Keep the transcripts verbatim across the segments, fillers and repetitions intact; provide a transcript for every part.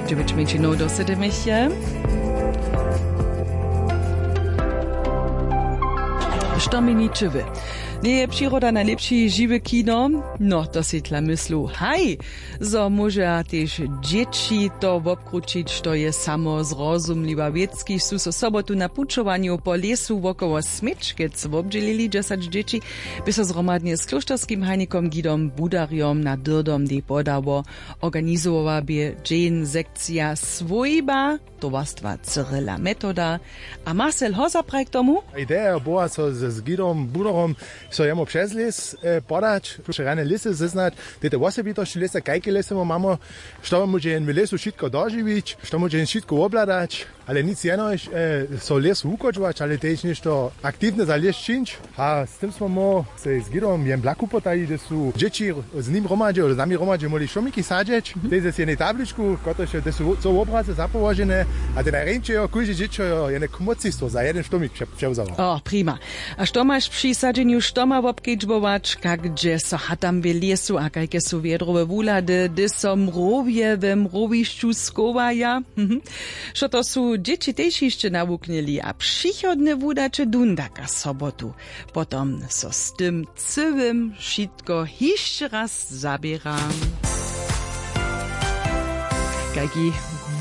Dźewjeć mjeńšinow do sydymechtě. Što měni čywy? Njeje přiroda najlěpši žiwy kino? No, to sej tla myslu haj, zo móžeja tež dźěći to wobkrućić, što je samo zrozumliwa wěc. Kiž su so sobotu na pućowanju po lěsu wokoło směčkec wobdźělili dźesać dźěći, bě so zhromadnje z klóšterskim hajnikom gidom budarjom na dyrdom dej podało. Organizowała bě dźeń sekcija swójba towarstwa Cyrila Metoda. A Marcel Hoza praji k tomu: Ideja była so z, z gidom budorom so jemu přez lěs e, podać, přerjane lěsy zeznać, te te wosebitosći lěsa, kajke lěsy mu mamo, što móže jen w lěsu wšitko dožiwić, što móže jen wšitko wobhladać, ale nic jenož e, so lěsu wuchodźować, ale tež něšto aktiwne za lěs čińć. A z tym smo mu sej z gidom jen blaku potajili, hdy su dźěći z nim hromadźe z nami hromadźe móhli šomiki sadźeć, tež z jednej tabličku, kotrež je, hdy su co wobrazy zapołožene. A te najrjeńše jo kóžde dźěćo jo jene kmócistwo za jeden štomik pře- přewzało. O, prima. A što maš při sadźenju štoma wobkedźbować? Kak dźe so hatam w lěsu a kajke su wjedrowe wuhlady, hdy so mrowje we mrowišću schowaja? Mhm. Što to su dźěći tež hišće nawuknyli a přichodne wudaće dundaka sobotu. Potom so z tym cyłym wšitko hišće raz zaběra. Kajki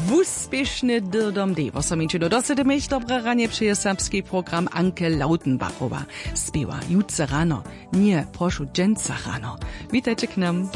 wuspěšny dyrdom dej wosominčinu do sedymich dobre ranje přeje serbski program Anke Lautenbachowa. Spěwa jutře rano, ně, prošu, dźensa rano. Witajće k nam.